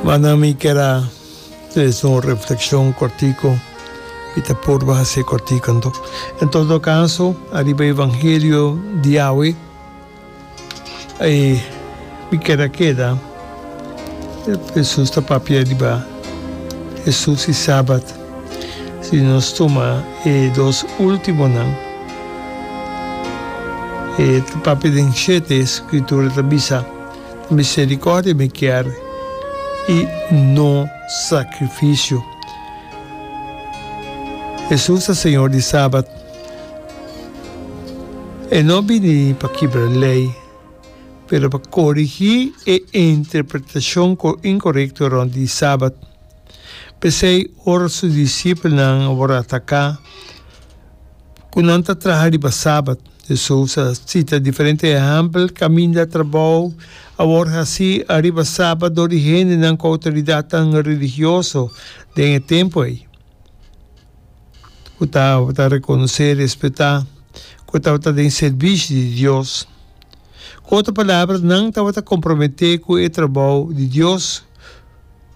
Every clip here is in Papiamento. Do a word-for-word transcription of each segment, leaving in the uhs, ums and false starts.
Mana mi kier a trese un reflexion cortico, mi ta purba haci cortico anto. En todo caso, ariba evangelio di awe, e mi kier a keda, Jesus ta papia riba Jesus y Sabat. Si nos tuma e dos ultimonan, e ta papia den shete, Scritura ta bisa, Misericordia mi kier y no sacrificio. Jesus ta Señor di Sabat. E no bini pa kibra ley, pero pa corigi e interpretacion incorrecto rond di Sabat. P'esey ora su discipelnan a worde ataca, ku nan ta traha riba Sabat. Hesus a sita diferente ehèmpel kaminda trabou a wòrdu hasí riba Sabat dor di hendenan ku outoridatnan religioso den e tempu ei, ku tabata rekonosé i respetá ku tabata den sirbishi di Dios. Ku otro palabra, nan tabata komprometé ku e trabou di Dios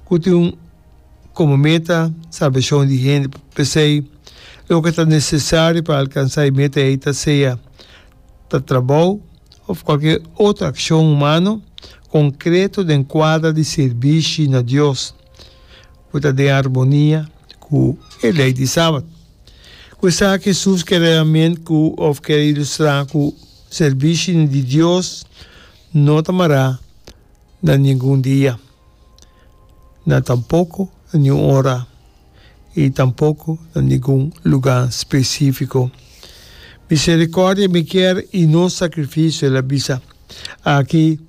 ku tin un Komo meta, salbashon di hende. P'esei, loke ta nesesario pa alkansá e meta ei ta sea ta trabou òf kualke otro akshon humano konkreto den kuadra di sirbishi na Dios ku ta den armonia ku e lei di Sabat. Ku esaki Hesus kere realment ku òf kere ilustrá ku sirbishi di Dios no ta mará na ningun dia. Na tampoko na niun ora i tampoko na ningun lugá spesífiko. Miserikòrdia mi kier i no sakrifisio, el a bisa. Aki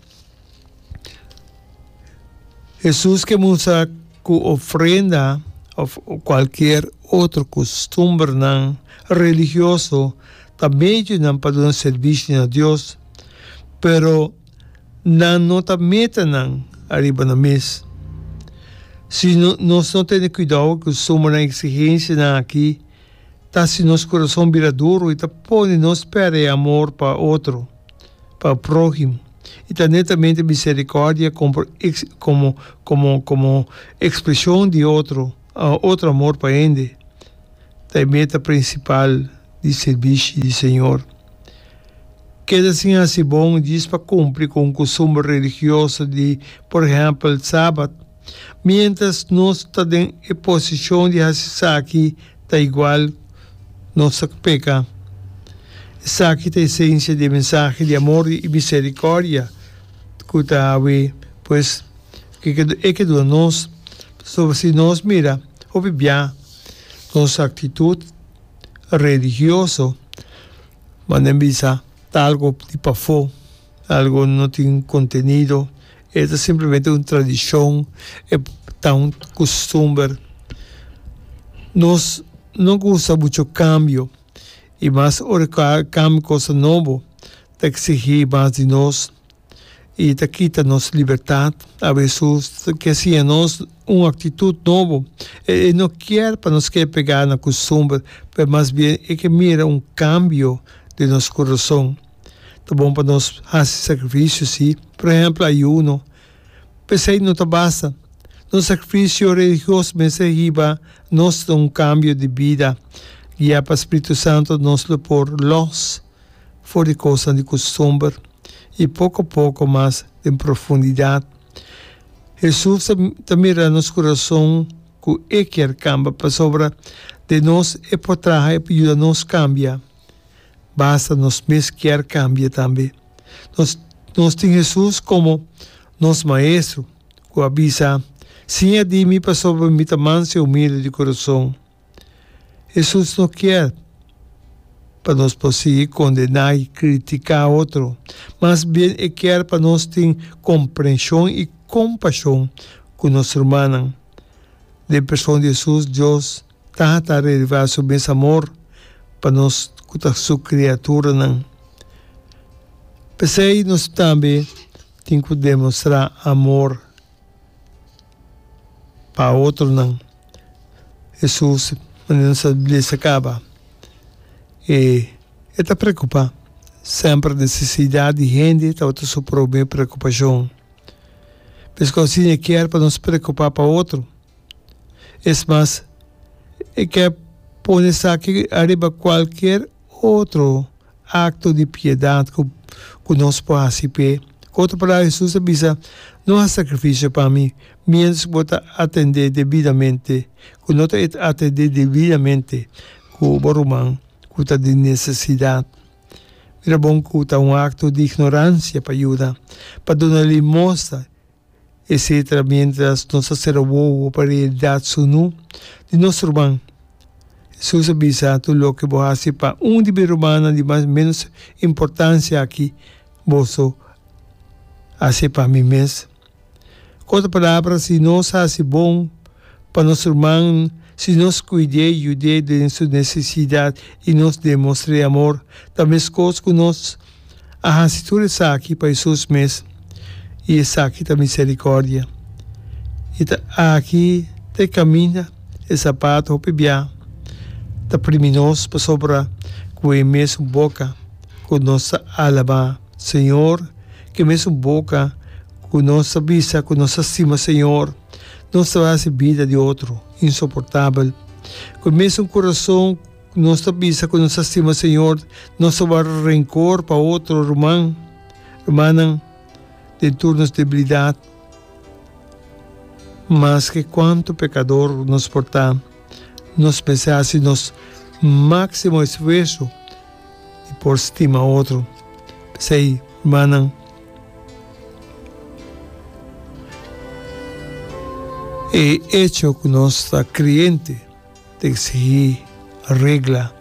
Hesus ke mustra ku ofrenda òf kualkier otro kustumbernan religioso ta medionan pa duna servisio na Dios, pero Nan no ta meta nan ariba nan mes. Si nos no tene cuidao cu sumanan exigencianan aki, ta haci nos curason bira duro y ta pone nos perde e amor pa otro, pa prohimo. Y ta netamente misericordia como como como expresion di otro otro amor pa hende ta e meta principal di sirbishi di Señor. Keda sin hasi bon djis pa kumpli ku un kustumber religioso di, por ehèmpel, Sabat. Miéntras nos ta den e posishon di hasi esaki, ta igual nos ta peka. Esaki ta esensia di e mensahe di amor i miserikòrdia ku ta awe, pues, e ke duna nos. Pasobra si nos mira hopi bia nos aktitut religioso, Manda bisa ta algo di pafó, algo no tin kontenido, e ta simplemente un tradishon, e ta un kustumber. Nos no gusta mucho kambio i mas ora ku a kambia kosa nobo ta eksigí mas di nos. I ta kita nos libertat. Awe Hesus ke siña nos un aktitut nobo. E no kier pa nos keda pegá na kustumber, pero mas bien e ke mira un kambio den nos kurason. Ta bon pa nos hasi sakrifisio, sí, por ehèmpel ayuno. P'esei no ta basta. Nos sakrifisio religioso mester hiba nos na un kambio di bida. Guiá pa Spiritu Santu nos lo por lòs for di kosnan di kustumber i poko poko mas den profundidat. Hesus ta mira nos kurason ku e kier kamba pasobra den nos e por traha i por yuda nos kambia. Basta nos mes kier kambia tambe. Nos nos tin Hesus komo nos Maestro ku a bisa, Siña di mi pasobra mi ta manso i humilde di kurason. Hesus no kier pa nos por sigui kondená i kritiká otro. Mas bien e kier pa nos tin komprenshon i kompashon ku nos rumannan. Den person di Hesus, Dios Tata a revelá su mes amor pa nos ku ta su kriaturanan. P'esei nos tambe tin ku demostrá amor pa otronan. Hesus, manera nos a lesa kaba, e e ta preokupá. Semper nesesidat di hende tabata su promé preokupashon. Pasobra asina e kier pa nos preocupa pa otro. Es mas, e kier pone esaki ariba cualkier otro acto di piedad cu cu nos por haci p'e. Cu otro palabra, Hesus a bisa, No haci sacrificio pa mi, mientras cu bo ta atende debidamente, cu no ta atende debidamente cu bo ruman cu ta den necesidad. Mira bon cu ta un acto di ignorancia pa yuda, pa duna limosna, etcetera mientras nos ta cera wowo pa realidad sunu di nos ruman. Hesus a bisa, Tur loke bo haci pa un di mi rumannan di mas menos importancia aki, boso haci pa mi mes. Cu otro palabra, si nos haci bon pa nos ruman, si nos cuid'é i yud'é den su necesidad i nos demostr'é amor, ta mescos cu nos a haci tur esaki pa Hesus mes. I esaki ta misericordia. I ta aki ta e caminda, e zapato hopi bia ta primi nos pasobra cu e mesun boca cu nos ta alaba Señor, cu e mesun boca cu nos ta bisa cu nos ta stima Señor, nos ta haci bida di otro insoportabel. Cu e mesun curason cu nos ta bisa cu nos ta stima Señor, nos ta warda rencor pa otro ruman, rumannan den tur nos debilidad. Maske cuanto pecador nos por ta, nos mester haci nos maximo esfuerso di por stima otro. P'esei, rumannan, e echo cu nos ta creyente ta exigí regla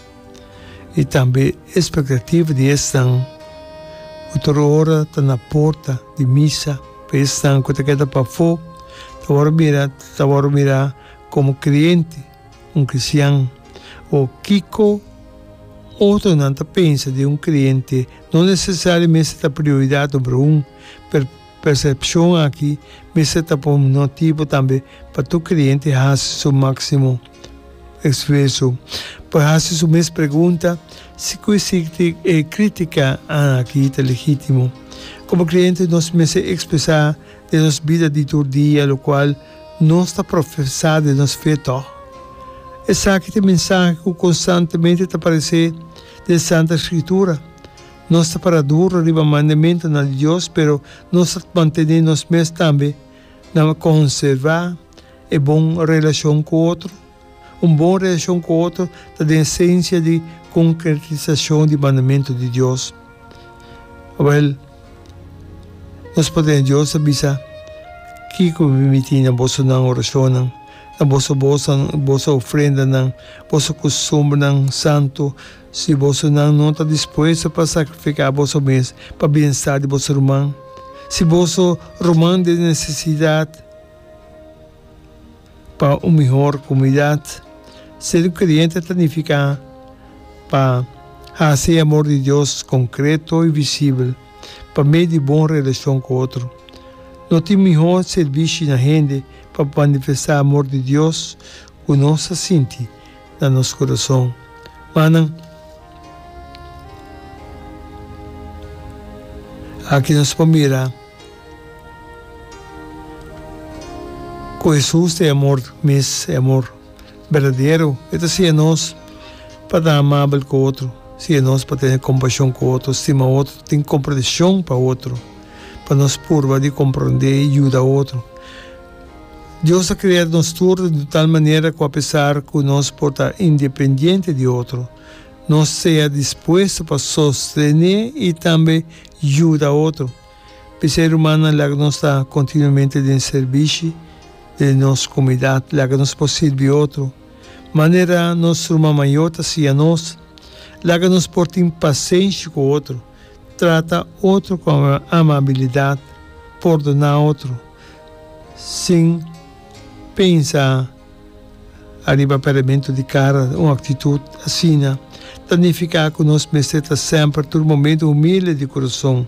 i tambe expectativa di esnan cu tur ora ta na porta di misa. Pa esnan cu ta keda pafó ta wòrdu mira ta wòrdu mirá como creyente, un cristian. O kico otronan ta pensa di un creyente no necesariamente ta prioridad number un, pero percepcion aki mester ta pa un motibo tambe pa tur creyente haci su maximo esfuerso pa haci su mes pregunta si cu e critica aki ta legitimo. Como creyente nos mester expresa den nos bida di tur dia locual nos ta profesa den nos fe tog. Esaki ta e mensahe cu constantemente ta aparece den Santa Escritura. Nos ta para duro riba mandamentonan di Dios, pero nos ta mantené nos mes tambe na konservá e bon relashon ku otro. Un bon relashon ku otro ta den esensia di konkretisashon di mandamentu di Dios. Awèl, nos por tene Dios ta bisa, Kiko mi permití na bosonan orashonnan, na boso bosnan, boso ofrendanan, boso kustumbernan santu, Si bosonan no ta dispuesto pa sakrifiká boso mes pa bienestar di boso ruman, si boso ruman den nesesidat pa un mihor komunidat, ser un kreyente ta nifiká pa hasi e amor di Dios konkreto i visibel pa medio di bon relashon ku otro. No tin mihó sirbishi na hende pa manifestá amor di Dios ku nos ta sinti na nos kurason. Manan, aki nos por mira ku Hesus ta e amor mes, e amor berdadero. E ta siña nos pa ta amabel ku otro, siña nos pa tene kompashon ku otro, stima otro, tin komprenshon pa otro, pa nos purba di komprondé i yuda otro. Dios a krea nos tur di tal manera ku apesar ku nos por ta independiente di otro, nos sea dispuesto pa sostené i tambe yuda otro. P'esei, rumannan, laga nos ta kontinuamente den sirbishi den nos komunidat, laga nos por sirbi otro manera nos ruman mayor ta siña nos. Laga nos por tin pasenshi ku otro, trata otro ku amabilidat, pordoná otro. Sin pensa ariba pèrdemento di kara, un aktitut asina ta nifiká ku nos mester ta semper tur momento humilde di kurason.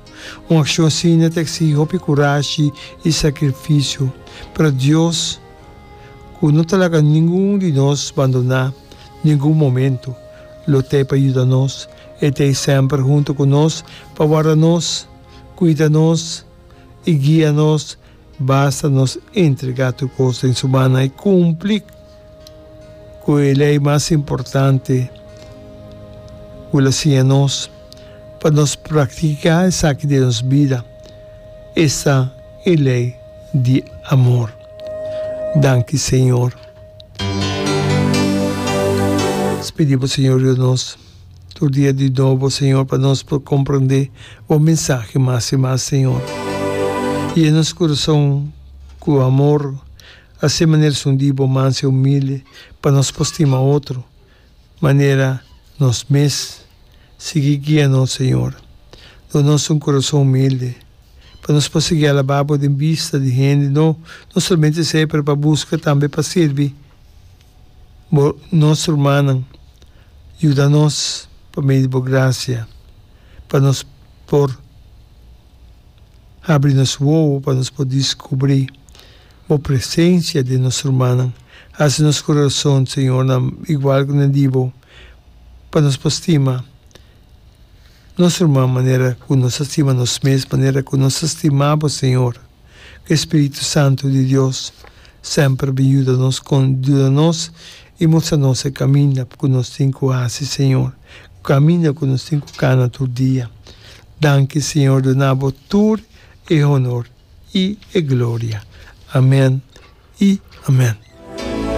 Un akshon asina ta eksigi hopi kurashi i sakrifisio, pero Dios, ku no ta laga ningun di nos bandoná ningun momento, lo t'ei pa yuda nos. E t'ei semper huntu ku nos pa warda nos, kuida nos i guia nos. Basta nos entregá tur kos den su mannan i kumpli ku e lei mas importante ku el a siña nos pa nos praktiká esaki den nos bida, esta e lei di amor. Danki Señor. Nos pidi bo Señor yuda nos tur dia di nobo Señor pa nos por comprende bo mensahe mas y mas Señor. Yena nos corazon cu amor así manera esun di bo mansa y humilde pa nos por stima otro manera nos mes. Sigui guia nos Señor. Duna nos un corazon humilde pa nos por sigui alaba bo den bista di hende no no solamente esey pero pa busca tambe pa sirbi bo nos rumannan. Yuda nos pa medio di bo gracia pa nos por habri nos wowo pa nos por descubri bo presencia den nos rumannan. Haci nos corazon Señor na igual cu na di bo pa nos por stima nos ruman manera cu nos ta stima nos mes, manera cu nos ta stima bo Señor. Cu e Spiritu Santo di Dios semper bin yuda nos, yuda nos y mustra nos e caminda cu nos tin cu haci Señor, caminda cu nos tin cu cana tur dia. Danki Señor, duna bo tur e honor y e gloria. Amen y amen.